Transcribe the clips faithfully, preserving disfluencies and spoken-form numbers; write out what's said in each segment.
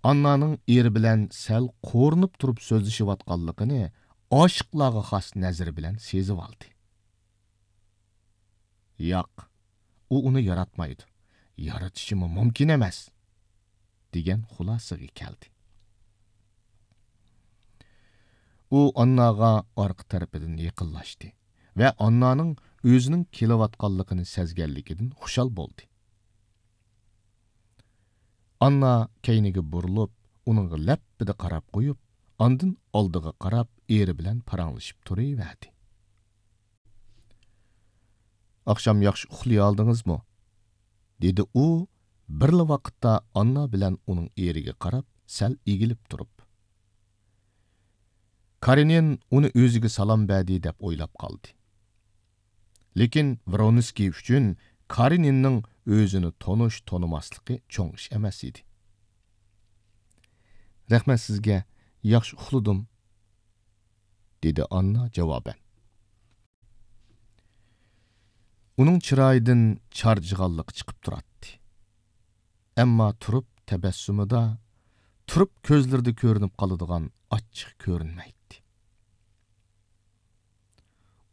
ئاننانىڭ ئېرى بىلەن سەل قورۇنۇپ تۇرۇپ سۆزلىشىۋاتقانلىقىنى ئاشىقلارغا خاس نەزىرى بىلەن سېزىۋالدى. ياق، ئۇ ئۇنى ياراتمايدۇ. يارىتىشىمۇ مۇمكىن ئەمەس، دېگەن خۇلاسىگە كەلدى. ئۇ ئانناغا ئارقا تەرىپىدىن يېقىنلاشتى ۋە ئاننانىڭ ئۆزىنىڭ كېلىۋاتقانلىقىنى سەزگەنلىكىدىن خۇشال بولدى. ئاننا كەينىگە بۇرۇلۇپ، ئۇنىڭغا لەپپىدە قاراپ قويۇپ، ئاندىن ئالدىغا قاراپ ئېرى بىلەن پاراڭلىشىپ تۇرۇۋەردى. «ئاخشام ياخشى ئۇخلىيالدىڭىزمۇ؟» دېدى ئۇ، بىرلا ۋاقىتتا ئاننا بىلەن ئۇنىڭ ئېرىگە قاراپ سەل ئېگىلىپ تۇرۇپ. كارېنىن ئۇنى ئۆزىگە سالام بەردى دەپ ئويلاپ قالدى. لېكىن ۋرونسكىي ئۈچۈن كارېنىننىڭ ئۆزىنى تونۇش-تونۇماسلىقى چوڭ ئىش ئەمەس ئىدى. «رەھمەت سىزگە، ياخشى ئۇخلىدىم»، دېدى ئاننا جاۋابەن. ئۇنىڭ چىرايىدىن چارچىغانلىق چىقىپ تۇراتتى. ئەمما تۇرۇپ تەبەسسۇمىدا، تۇرۇپ كۆزلىرىدە كۆرۈنۈپ قالىدىغان ئاچچىق كۆرۈنمەيتتى.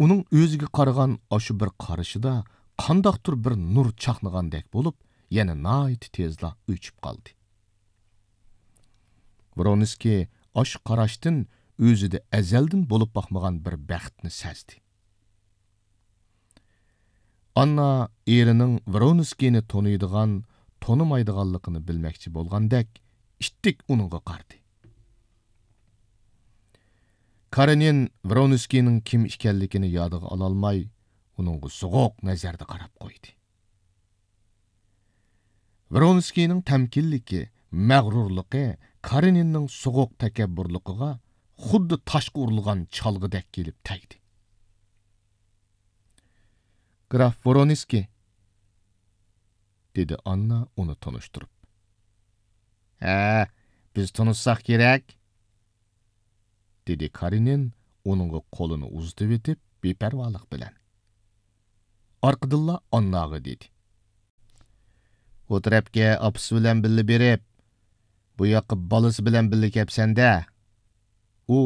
ئۇنىڭ ئۆزىگە قارىغان ئاشۇ بىر قارىشىدا قانداقتۇر بىر نۇر چاقنىغاندەك بولۇپ، يەنە ناھايىتى تېزلا ئۆچۈپ قالدى. ۋرونسكىي ئاشۇ قاراشتىن ئۆزىدە ئەزەلدىن بولۇپ باقمىغان بىر بەختنى سەزدى. ئاننا ئېرىنىڭ ۋرونسكىينى تونۇيدىغان، تونۇمايدىغانلىقىنى بىلمەكچى بولغاندەك، ئىتتىك ئۇنىڭغا قارىدى. كارېنىن ۋرونسكىينىڭ كىم ئىكەنلىكىنى يادىغا ئالالماي، ئۇنىڭغا سوغۇق نەزەردە قاراپ قويدى. ۋرونسكىينىڭ تەمكىنلىكى، مەغرۇرلۇقى كارېنىننىڭ سوغۇق تەكەببۇرلۇقىغا خۇددى تاشقا ئۇرۇلغان چالغىدەك كېلىپ تەگدى. «گراف ۋرونسكىي»، دېدى ئاننا ئۇنى تونۇشتۇرۇپ. «ھە، بىز تونۇشساق كېرەك»، دېدى كارېنىن ئۇنىڭغا قولىنى ئۇزىتىۋېتىپ بىپەرۋالىق بىلەن. ئارقىدىنلا ئانناغا دېدى: «ئۇ تەرەپكە ئاپىسى بىلەن بىللە بېرىپ، بۇ ياققا بالىسى بىلەن بىللە كەپسەن-دە.» ئۇ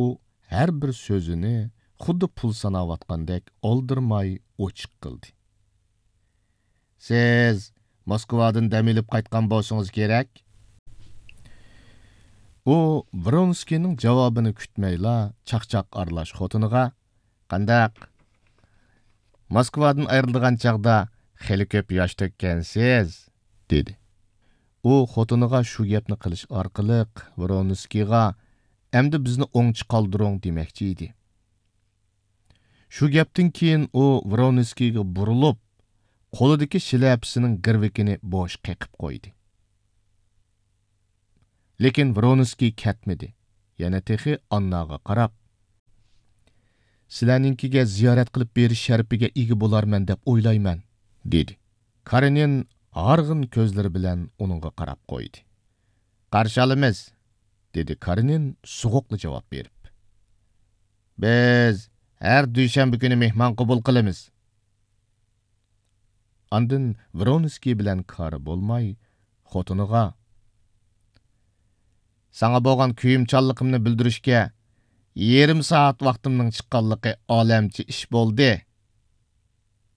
ھەر بىر سۆزىنى خۇددى پۇل ساناۋاتقاندەك ئالدىرىماي ئوچۇق قىلدى. «سىز موسكۋادىن دەم ئېلىپ قايتقان بولسىڭىز كېرەك.» ئۇ ۋرونسكىينىڭ جاۋابىنى كۈتمەيلا چاقچاق ئارىلاش خوتۇنىغا: «قانداق؟ موسكۋادىن ئايرىلىدىغان چاغدا خېلى كۆپ ياش تۆككەنسىز»، دېدى. ئۇ خوتۇنىغا شۇ گەپنى قىلىش ئارقىلىق ۋرونسكىيغا: «ئەمدى بىزنى ئوڭچە قالدۇرۇڭ» دېمەكچى ئىدى. شۇ گەپتىن كېيىن ئۇ ۋرونسكىيغا بۇرۇلۇپ، قولىدىكى شىلەپىسىنىڭ گىرۋىكىنى بوش قېقىپ قويدى. لېكىن ۋرونسكىي كەتمىدى، يەنە تېخى ئانناغا قاراپ: «سىلەرنىڭكىگە زىيارەت قىلىپ بېرىش شەرىپىگە ئىگە بولارمەن دەپ ئويلايمەن»، دېدى. كارېنىن ھارغىن كۆزلىرى بىلەن ئۇنىڭغا قاراپ قويدى. «قارشى ئالىمىز»، دېدى كارېنىن سوغۇقلا جاۋاب بېرىپ. «بىز ھەر دۈشەنبە كۈنى مېھمان قوبۇل قىلىمىز.» ئاندىن ۋرونسكىي بىلەن كارى بولماي، خوتۇنىغا: «ساڭا بولغان كۆيۈمچانلىقىمنى بىلدۈرۈشكە يېرىم سائەت ۋاقتىمنىڭ چىققانلىقى ئالەمچە ئىش بولدى»،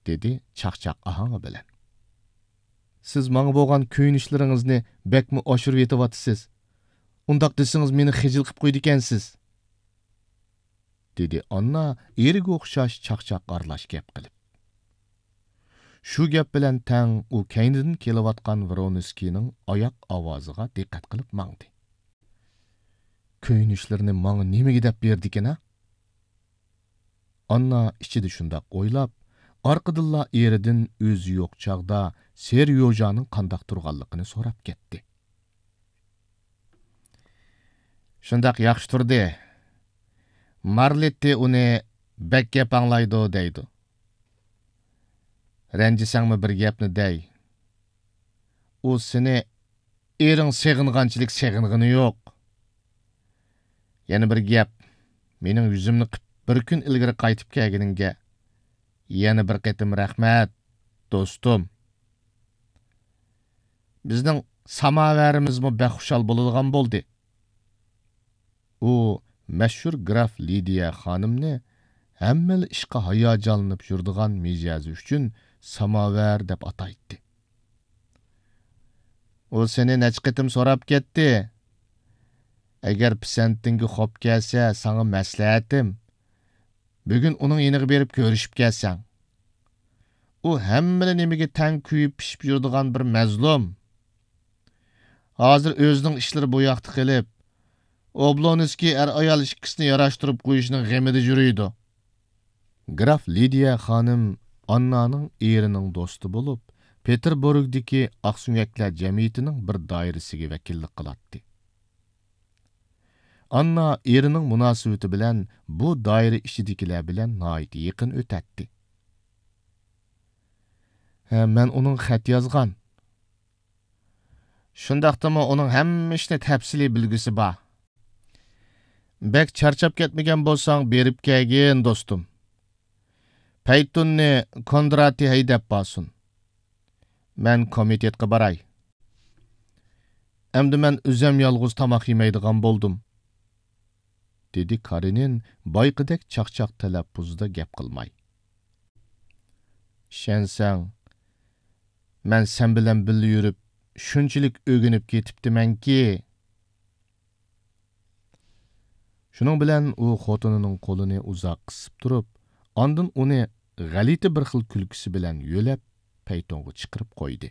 دېدى چاقچاق ئاھاڭى بىلەن. «سىز ماڭا بولغان كۆيۈنۈشلىرىڭىزنى بەكمۇ ئاشۇرۇۋېتىۋاتىسىز. ئۇنداق دېسىڭىز مېنى خىجىل قىپ قويىدىكەنسىز.» دېدى ئاننا ئېرىگە ئوخشاش چاقچاق ئارىلاش گەپ قىلىپ. شۇ گەپ بىلەن تەڭ ئۇ كەينىدىن كېلىۋاتقان ۋرونسكىينىڭ ئاياق ئاۋازىغا دىققەت قىلىپ ماڭدى. «كۆيۈنۈشلىرىنى ماڭا نېمىگە دەپ بېرىدىكىن-ھە؟» ئاننا ئىچىدە شۇنداق ئويلاپ، ئارقىدىنلا ئېرىدىن ئۆزى يوق چاغدا سېريوژانىڭ قانداق تۇرغانلىقىنى سوراپ كەتتى. «شۇنداق ياخشى تۇردى. مارلىتتى ئۇنى بەك گەپ ئاڭلايدۇ دەيدۇ. رەنجىسەڭمۇ بىر گەپنى دەي. ئۇ سېنى ئېرىڭ سېغىنغانچىلىك سېغىنغىنى يوق. يەنە بىر گەپ، مېنىڭ يۈزۈمنى قىپ بىر كۈن ئىلگىرى قايتىپ كەلگىنىڭگە يەنە بىر قېتىم رەھمەت، دوستۇم. بىزنىڭ ساماۋەرىمىزمۇ بەك خۇشال بولىدىغان بولدى. ئۇ مەشھۇر گراف لىدىيە خانىمنى ھەممىلا ئىشقا ھاياجانلىنىپ يۈرىدىغان مىجەزى ئۈچۈن ساماۋەر دەپ ئاتايتتى. ئۇ سېنى نەچچە قېتىم سوراپ كەتتى. ئەگەر پىسەنتىڭگە خوپ كەلسە، ساڭا مەسلىھەتىم، بۈگۈن ئۇنىڭ يېنىغا بېرىپ كۆرۈشۈپ كەلسەڭ. ئۇ ھەممىلا نېمىگە تەڭ كۆيۈپ پىشىپ يۈرىدىغان بىر مەزلۇم. ھازىر ئۆزىنىڭ ئىشلىرى بۇ ياقتا قېلىپ، ئوبلونسكىي ئەر-ئايال ئىككىسىنى ياراشتۇرۇپ قويۇشنىڭ غېمىدە يۈرىدۇ. گراف لىدىيە خانىم ئاننانىڭ ئېرىنىڭ دوستى بولۇپ، پېتېربۇرگدىكى ئاقسۆڭەكلەر جەمئىيىتىنىڭ بىر دائىرىسىگە ۋەكىللىك قىلاتتى. ئاننا ئېرىنىڭ مۇناسىۋىتى بىلەن بۇ دائىرە ئىچىدىكىلەر بىلەن ناھايىتى يېقىن ئۆتەتتى. ھە، مەن ئۇنىڭغا خەت يازغان. شۇنداقتىمۇ ئۇنىڭ ھەممە ئىشنى تەپسىلىي بىلگۈسى بار. بەك چارچاپ كەتمىگەن بولساڭ، بېرىپ كەلگىن، دوستۇم. پەيتۇننى كوندراتى ھەيدەپ بارسۇن. مەن كومىتېتقا باراي. ئەمدى مەن ئۆزۈم يالغۇز تاماق يېمەيدىغان بولدۇم، دېدى كارېنىن بايىقىدەك چاقچاق تەلەپپۇزدا گەپ قىلماي. ئىشەنسەڭ، مەن سەن بىلەن بىللە يۈرۈپ، شۇنچىلىك ئۆگىنىپ كېتىپتىمەنكى. شۇنىڭ بىلەن ئۇ خوتۇنىنىڭ قولىنى ئۇزاق قىسىپ تۇرۇپ، ئاندىن ئۇنى غەلىتە بىر خىل كۈلكىسى بىلەن يۆلەپ، پەيتۇنغا چىقىرىپ قويدى.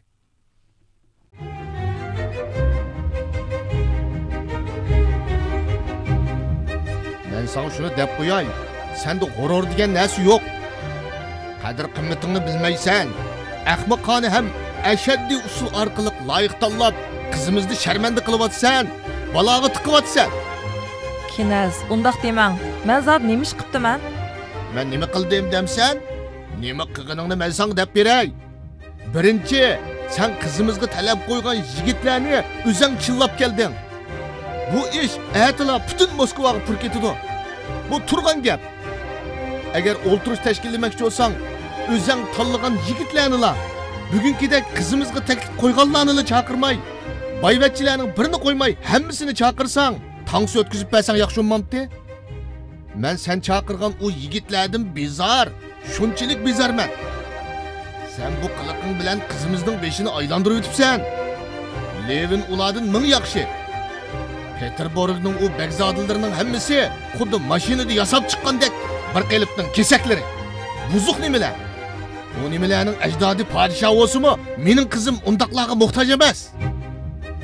مەن ساڭا شۇنى دەپ قوياي، سەندە غۇرۇر دېگەن نەرسە يوق. قەدىر-قىممىتىڭنى بىلمەيسەن. ئەخمىقانە ھەم ئەشەددىي ئۇسۇل ئارقىلىق لايىق تاللاپ، قىزىمىزنى شەرمەندە قىلىۋاتىسەن، بالاغا تىقىۋاتىسەن. كىنەز، ئۇنداق دېمەڭ. مەن زادى نېمە ئىش قىپتىمەن؟ مەن نېمە قىلدىم دەمسەن؟ نېمە قىلغىنىڭنى مەن ساڭا دەپ بېرەي. بىرىنچى، سەن قىزىمىزغا تەلەپ قويغان يىگىتلەرنى ئۆزەڭ چىللاپ كەلدىڭ. بۇ ئىش ئەتىلا پۈتۈن موسكۋاغا پۇر كېتىدۇ. بۇ تۇرغان گەپ. ئەگەر ئولتۇرۇش تەشكىللىمەكچى بولساڭ، ئۆزەڭ تاللىغان يىگىتلەرنىلا، بۈگۈنكىدەك قىزىمىزغا تەكلىپ قويغانلارنىلا چاقىرماي، بايۋەچچىلەرنىڭ بىرىنى قويماي ھەممىسىنى چاقىرساڭ، تانسا ئۆتكۈزۈپ بەرسەڭ ياخشى بولمامتى؟ مەن سەن چاقىرغان ئۇ يىگىتلەردىن بىزار، شۇنچىلىك بىزارمەن. سەن بۇ قىلىقىڭ بىلەن قىزىمىزنىڭ بېشىنى ئايلاندۇرۇۋېتىپسەن. لېۋىن ئۇلاردىن مىڭ ياخشى. پېتېربۇرگنىڭ ئۇ بەگزادىلىرىنىڭ ھەممىسى خۇددى ماشىنىدا ياساپ چىققاندەك بىر قېلىپنىڭ كېسەكلىرى. بۇزۇق نېمىلەر. ئۇ نېمىلەرنىڭ ئەجدادى پادىشاھ بولسىمۇ، مېنىڭ قىزىم ئۇنداقلارغا موھتاج ئەمەس.